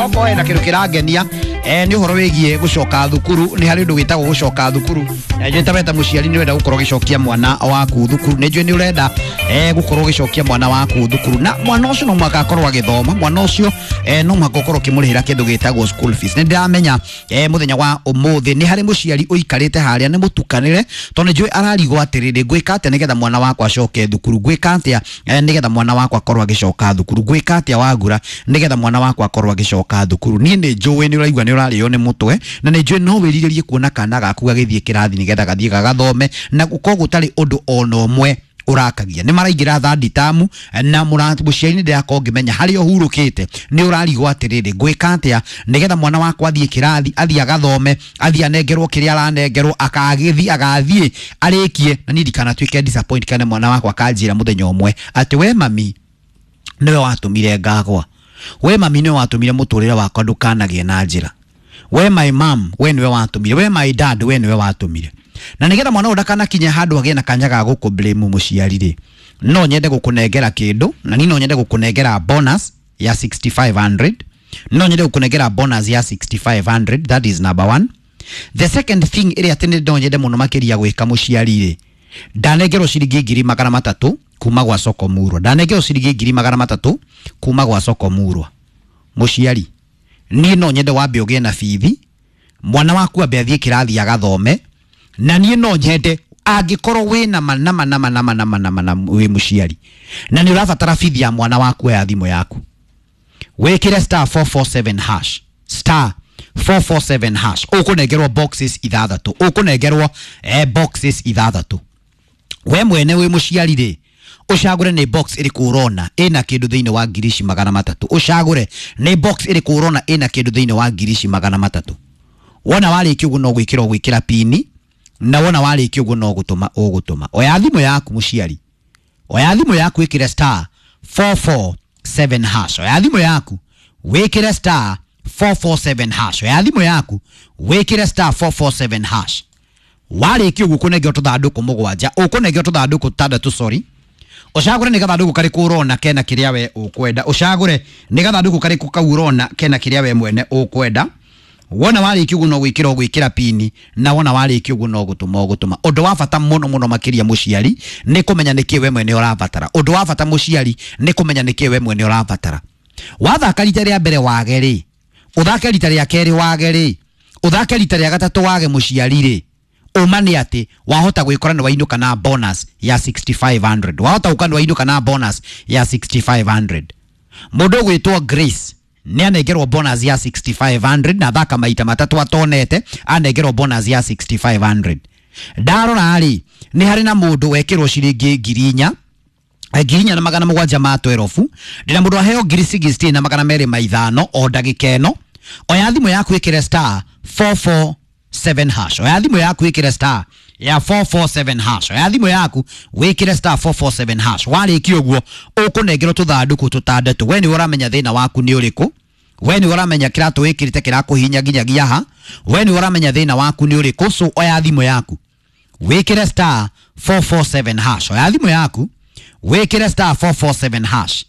Okorwo hena kindu kirangenia ni uhoro wigie gucoka thukuru. Ni hari undu witagwo gucoka thukuru. Njui ta weta muciari ni urenda gukorwo ugicokia mwana waku thukuru, ni njui ni urenda gukorwo ugicokia mwana waku thukuru, na mwana ucio no mũhaka akorwo agithoma, mwana ucio no mũhaka ukorwo ukimurihira kindu gitagwo school fees. Ni ndiramenya muthenya wa umuthi ni hari muciari uikarite haria ni mutukanire, tondu njui ararigwo atiriri, ngwika atia nigetha mwana wakwa acoke thukuru, ngwika atia nigetha mwana wakwa akorwo agicoka thukuru, ngwika atia wagura nigetha mwana wakwa akorwo agicoka thukuru. Niĩ nĩ njũĩ nĩ ũraigua nĩ ũrarĩo nĩ mũtwe, na nĩ njũĩ no wĩrirĩrie kuona kana gaku gagĩthiĩ kĩrathi nĩgetha gathiĩ gagathome, na gũkorwo gũtarĩ ũndũ ona ũmwe ũrakagia. Nĩ maraingĩra third term, na mũciari nĩ ndĩrakorwo ngĩmenya harĩa ũhurũkĩte nĩ ũrarigwo atĩrĩrĩ, ngwĩka atĩa nĩgetha mwana wakwa athiĩ kĩrathi, athiĩ agathome, athiĩ anengerwo kĩrĩa aranengerwo, akagĩthiĩ agathiĩ arĩkie, na niĩ ndikanatuĩke disappoint kana mwana wakwa akanjĩra mũthenya ũmwe atĩ we mami nĩwe watũmire ngagwa, we mami nĩwe watũmire mũtũrĩre wakwa ndũkanagĩe na njĩra, we my mom we nĩwe watũmire, we my dad we nĩwe watũmire. Na nĩgetha mwana ũyũ ndakanakinye handũ agĩe na kanya ga gũkũ blame mũciari rĩ, no nyende gũkũnengera kĩndũ, na niĩ no nyende gũkũnengera bonus ya 6500, no nyende gũkũnengera bonus ya 6500. That is number one. The second thing ĩrĩa atĩ nĩ no nyende mũno makĩria gwĩka mũciari rĩ, ndanengerwo ciringi 300,000 kuma gwa Soko Murwa, ndanengerwo ciringi 300,000 kuma gwa Soko Murwa. Mũciari, niĩ no nyende wambe ũgĩe na bithi, mwana waku ambe athiĩ kĩrathi agathome, na niĩ no nyende angĩkorwo wĩna ma nama nama nama nama nama na wĩ mũciari na nĩ ũrabatara bithi ya mwana waku ya thimũ yaku, wĩkĩre star 447 hash, star 447 hash, ũkũnengerwo boxes ithathatũ, ũkũnengerwo boxes ithathatũ. We mwene wĩ mũciari rĩ, ũcagũre nĩ box ĩrĩkũ ũrona ĩna kĩndũ thĩinĩ wa 300,000, ũcagũre nĩ box ĩrĩkũ ũrona ĩna kĩndũ thĩinĩ wa 300,000. Wona warĩkia ũguo no gwĩkĩra ũgwĩkĩra pini, na wona warĩkia ũguo no gũtũma ũgũtũma. Oya thimũ yaku mũciari, oya thimũ yaku wĩkĩre star 447 hash, oya thimũ yaku wĩkĩre star 447 hash, oya thimũ yaku wĩkĩre star 447 hash. Warĩkia ũguo ũkũnengerwo tũthandũkũ mũgwanja, ũkũnengerwo tũthandũkũ tũtandatũ, sorry, ũcagũre nĩ gathandũkũ karĩkũ ũrona kena kĩrĩa we ũkwenda, ũcagũre nĩ gathandũkũ karĩkũ kau ũrona kena kĩrĩa we mwene ũkwenda. Wona warĩkia ũguo no gwĩkĩra ũgwĩkĩra pini, na wona warĩkia ũguo no gũtũma ũgũtũma. Ũndũ wa bata mũno mũno makĩria mũciari nĩ kũmenya nĩkĩ we mwene ũrabatara. Ũndũ wa bata mũciari nĩ kũmenya nĩkĩ we mwene ũrabatara. Wathaka rita rĩa mbere wage rĩ, ũthake rita rĩa kerĩ wage rĩ, ũthake rita rĩa gatatũ wage mũciari rĩ, ũma nĩ atĩ wahota gwĩkora nĩ wainũka na bonus ya 6500, wahota gũka nĩ wainũka na bonus ya 6500. Mũndũ ũgwĩtwo Grace nĩ anengerwo bonus ya 6500 na thaka maita matatũ atonete, anengerwo bonus ya 6500. Ndarora rĩ, nĩ harĩ na mũndũ wekĩrwo ciringi 4,000, 4,712. Ndĩna mũndũ aheo 16,205 o ndagĩka ĩno. Oya thimũ yaku ĩkĩre star 447 hash, oya thimũ yaku ĩkĩre star ya 447 hash, oya thimũ yaku wĩkĩre star 447 hash. Warĩkia ũguo ũkũnengerwo tũthandũkũ tũtandatũ. We nĩwe ũramenya thĩna waku nĩ ũrĩkũ, we nĩwe ũramenya kĩratũ wĩkĩrĩte kĩrakũhihinya nginyagia ha, we nĩwe ũramenya thĩna waku nĩ ũrĩkũ. So oya thimũ yaku wĩkĩre star 447 hash, oya thimũ yaku wĩkĩre star 447 hash.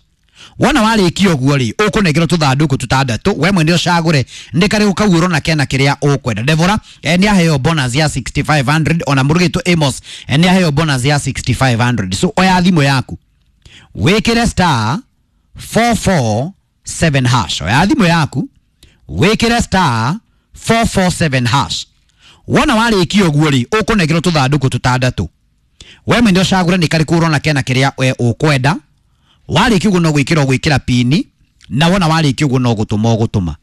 Wona warĩkia ũguo rĩ, ũkũnengerwo tũthandũkũ tũtandatũ, we mwene ũcagũre nĩ karĩkũ kau ũrona kena kĩrĩa ũkwenda. Deborah nĩ aheo bonus ya 6500, ona mũrugĩtwo Amos nĩ aheo bonus ya 6500. So oya thimũ yaku wĩkĩre star 447 hash, oya thimũ yaku wĩkĩre star 447 hash. Wona warĩkia ũguo rĩ, ũkũnengerwo tũthandũkũ tũtandatũ, we mwene ũcagũre nĩ karĩkũ ũrona kena kĩrĩa we ũkwenda. Warĩkia ũguo no gwĩkĩra ũgwĩkĩra pini, na wona warĩkia ũguo no gũtũma ũgũtũma.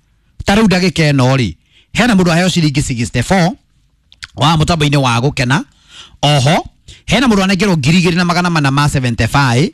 Ta rĩu ndagĩka ĩno rĩ, hena mũndũ aheo ciringi 64 wa mũtambo-inĩ wa gũkena. Oho hena mũndũ anengerwo 2,475.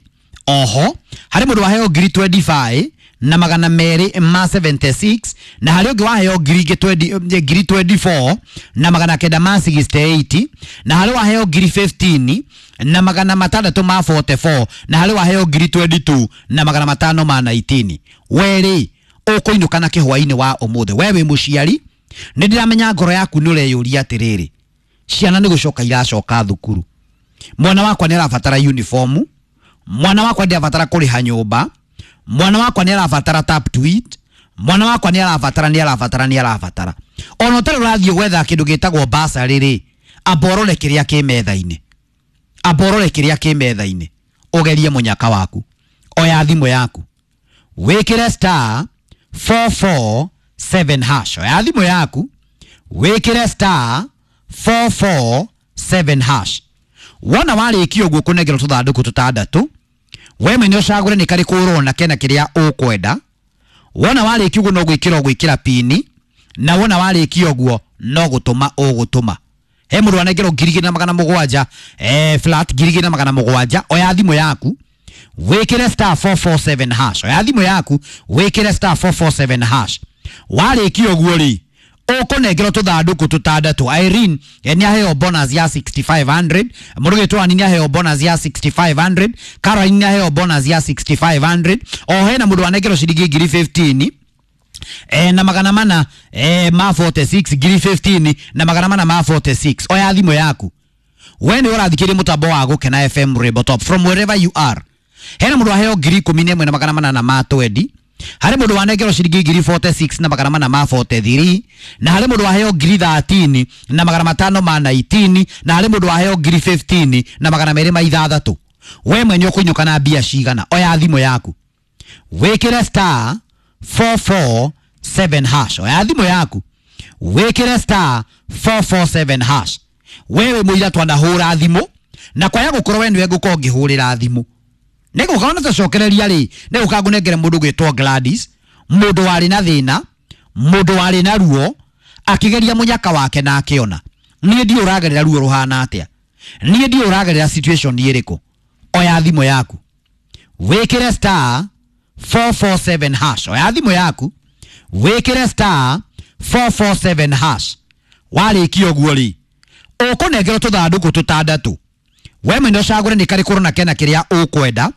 Oho harĩ mũndũ aheo 25,276, na harĩ ũngĩ waheo 24,968, na harĩ waheo 15,644, na harĩ waheo 22,519. We rĩ, ũkũinũka na kĩhwainĩ wa ũmũthĩ. We wĩ mũciari, nĩ ndĩramenya ngoro yaku nĩ ũreyũria atĩrĩrĩ, ciana nĩ gũcoka iracoka thukuru, mwana wakwa nĩ arabatara uniform, mwana wakwa ndĩrabatara kũrĩha nyũmba, mwana wakwa nĩ arabatara tap to eat, Mwana wakwa nĩ arabatara nĩ arabatara nĩ arabatara. Ona ũtarĩ ũrathiĩ gwetha kĩndũ gĩtagwo basarĩ rĩ, amba ũrore kĩrĩa kĩ metha-inĩ. Amba ũrore kĩrĩa kĩ metha-inĩ. Ũgerie mũnyaka waku. Oya thimũ yaku. Wĩkĩre star 447 hash. Oya thimũ yaku. Wĩkĩre star 447 hash. Wona warĩkia ũguo kũnengerwo tũthandũkũ tũtandatũ, we mwene ũcagũre nĩ karĩkũ ũrona kena kĩrĩa ũkwenda. Wona warĩkia ũguo no gwĩkĩra ũgwĩkĩra pini, na wona warĩkia ũguo no gũtũma ũgũtũma. He mũndũ anengerwo 2700, flat 2700. Oya thimũ yaku wĩkĩre star 447 hash. Oya thimũ yaku wĩkĩre star 447 hash. Warĩkia ũguo rĩ, ũkũnengerwo tũthandũkũ tũtandatũ. Irene nĩ aheo bonus ya 6500, mũrũgĩtwo Ani nĩ aheo bonus ya 6500, Caroline nĩ aheo bonus ya 6500. O hena mũndũ anengerwo ciringi 1015 na magana mana ma 46, 1015 na magana mana ma 46. Oya thimũ yaku. We nĩ ũrathikĩrĩria mũtambo wa Gũkena FM Rainbow Top from wherever you are. Hena mũndũ aheo 11800 na magana mana ma 20. Harĩ mũndũ wanengerwo ciringi 1046 na magana mana ma 43, na harĩ mũndũ waheo 1013 na magana matano ma 19, na harĩ mũndũ waheo 1015 na magana merĩ ma ithathatũ. We mwenye ũkũinũka na mbia cigana? Oya thimũ yaku wĩkĩre star 447 hash. Oya thimũ yaku wĩkĩre star 447 hash. Wewe mũira twanahũra thimũ, na kwaya gũkorwo we nĩwe ngũkorwo ngĩhũrĩra thimũ. Nĩgũka ona tũcokereria rĩ, nĩgũka ngũnengere mũndũ gwĩtwo Gladys, mũndũ warĩ na thĩna, mũndũ warĩ na ruo, akĩgeria mũnyaka wake na akĩona. Niĩ ndiũ ũragerera ruo rũhana atĩa, niĩ ndiũ ũragerera situation ĩrĩkũ. Oya thimũ yaku wĩkĩre star 447 hash. Oya thimũ yaku wĩkĩre star 447 hash. Warĩkia ũguo rĩ, ũkũnengerwo tũthandũkũ tũtandatũ. We mwene ũcagũre nĩ karĩkũ ũrona kena kĩrĩa ũkwenda.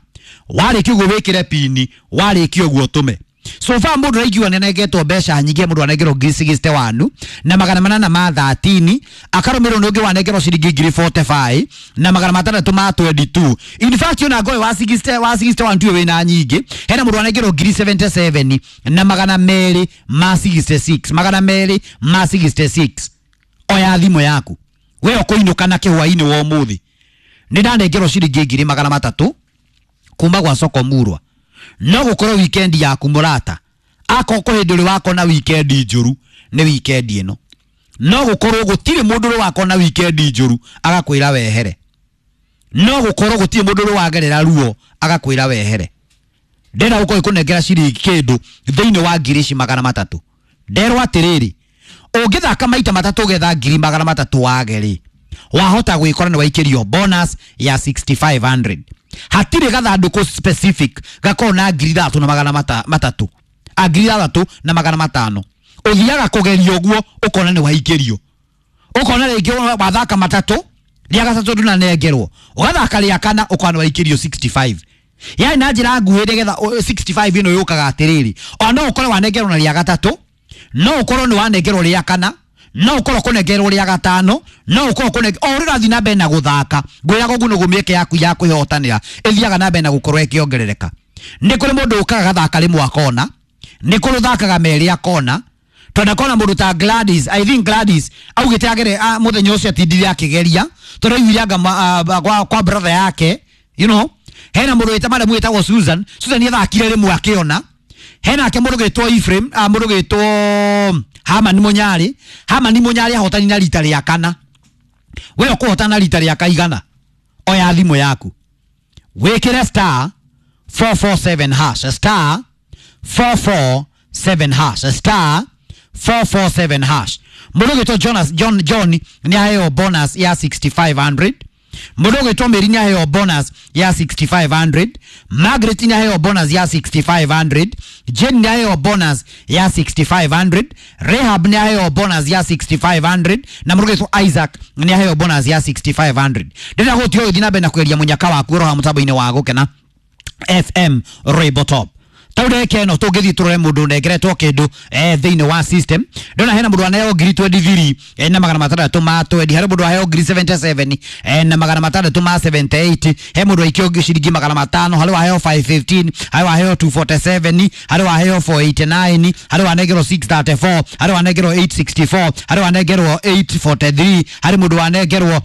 Warĩkia ũguo wĩkĩre pini, warĩkia ũguo ũtũme. So far mũndũ araigua nĩanengetwo mbeca nyingĩ, mũndũ anengerwo 1061 na magana manana ma 13, akarũmĩrĩrwo nĩ ũngĩ wanengerwo ciringi 1045 na magana matandatũ ma 22. In fact ona ngoe wa 60 wa 61 ndiwe wĩna nyingĩ. Hena mũndũ anengerwo 1077 na magana merĩ ma 66, magana merĩ ma 66. Oya thimũ yaku. We ũkũinũka na kĩhwainĩ wa ũmũthĩ. Nĩ ndanengerwo ciringi 300 kuma gwa soko murwa. No gũkorwo weekend yaku mũrata, akorwo kũrĩ hĩndĩ ũrĩ wakona weekend njũru nĩ weekend ĩno. No gũkorwo gũtirĩ mũndũ ũrĩ wakona weekend njũru agakwĩra wehere. No gũkorwo gũtirĩ mũndũ ũrĩ wagerera ruo agakwĩra wehere. Ndĩrenda gũkorwo ĩkũnengera ciringi kĩndũ thĩinĩ wa 300,000. Nderwo atĩrĩrĩ, ũngĩthaka maita matatũ ũgetha 300,000 wage rĩ, wahota gwĩkora nĩ waikĩrio bonus ya 6500. Hatirĩ gathandũkũ specific gakorwo na 3,000 na magana matatũ, a 3,000 na magana matano. Ũthiaga kũgeria ũguo ũkona nĩ waikĩrio, ũkona rĩngĩ wathaka matatũ, rĩa gatatũ ndũnanengerwo, ũgathaka rĩa kana ũkona nĩ waikĩrio 65. Yani na njĩra nguhĩ nĩgetha 65 ĩno yũkaga atĩrĩrĩ, ona no ũkorwo wanengerwo na rĩa gatatũ, no ũkorwo nĩ wanengerwo rĩa kana, no ũkorwo kũnengerwo rĩa gatano, no ũkorwo kũnengerwo o ũrĩa ũrathiĩ na mbere na gũthaka. Ngwĩraga ũguo nĩguo mĩeke yaku ya kwĩhotanĩra ĩthiaga na mbere na gũkorwo ĩkĩongerereka. Nĩ kũrĩ mũndũ ũkaga gathaka rĩmwe akona, nĩ kũrĩ ũthakaga merĩ akona. Tondũ akona mũndũ ta Gladys, I think Gladys augĩte agere mũthenya ũcio atindire akĩgeria, tondũ aiguire anga kwa brother yake, you know. Hena mũndũ wĩta madam wĩtagwo Susan, Susan nĩathakire rĩmwe akĩona. Hena ake mũndũ gwĩtwo Ephraim, mũndũ gwĩtwo Hamani Munyari, Hamani Munyari ahotani na rita rĩa kana. We ũkũhotana rita rĩa kaigana. Oya thimũ yaku wĩkĩre star 447 hash, star 447 hash, star 447 hash. Mũndũ gwĩtwo Jonas John John nĩ aheo bonus ya 6500. Mũndũ gwĩtwo Mary nĩ aheo bonus ya 6500. Margaret nĩ aheo bonus ya 6500. Jane nĩ aheo bonus ya 6500. Rehab nĩ aheo bonus ya 6500. Na mũndũ gwĩtwo Isaac nĩ aheo bonus ya 6500. Ndĩrenda gũtiga ũgĩthiĩ na mbere na kũgeria mũnyaka waku ũroha mũtambo-inĩ wa Gũkena FM Rainbow Top. Tau ndagĩka ĩno tũngĩthiĩ tũrore mũndũ ũnengeretwo kĩndũ thĩinĩ wa system, ndona hena mũndũ aneo ngiri 23 na magana matandatũ ma 20, harĩ mũndũ aheo ngiri 77 na magana matandatũ ma 78, he mũndũ aikio ciringi magana matano, harĩ waheo 515, harĩ waheo 247, harĩ waheo 489, harĩ wanengerwo 634, harĩ wanengerwo 864, harĩ wanengerwo 843, harĩ mũndũ wanengerwo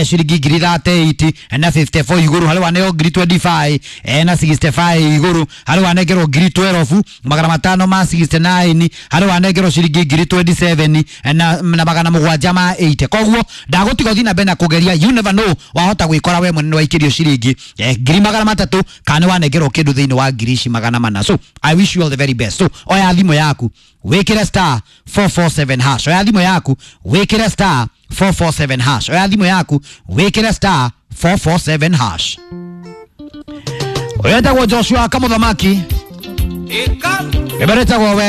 ciringi ngiri 38 na 54 igũrũ, harĩ waneo ngiri 25 na 65 igũrũ, harĩ wanengerwo ngiri 12 magana matano ma 69, harĩ wanengerwo ciringi ngiri 27 na magana mũgwanja ma 80. Koguo ndagũtiga ũthiĩ na mbere na kũgeria, you never know, wahota gwĩkora we mwene nĩwaikĩrio ciringi ngiri magana matatũ kana nĩwanengerwo kĩndũ thĩinĩ wa ngiri ici magana mana. So I wish you all the very best. So oya thimũ yaku wĩkĩre star 447 hash, oya thimũ yaku wĩkĩre star 447 hash, oya thimũ yaku wĩkĩre star 447 hash. Ũyũ etagwo Joshua Kamũthamaki, ĩberetagwo we.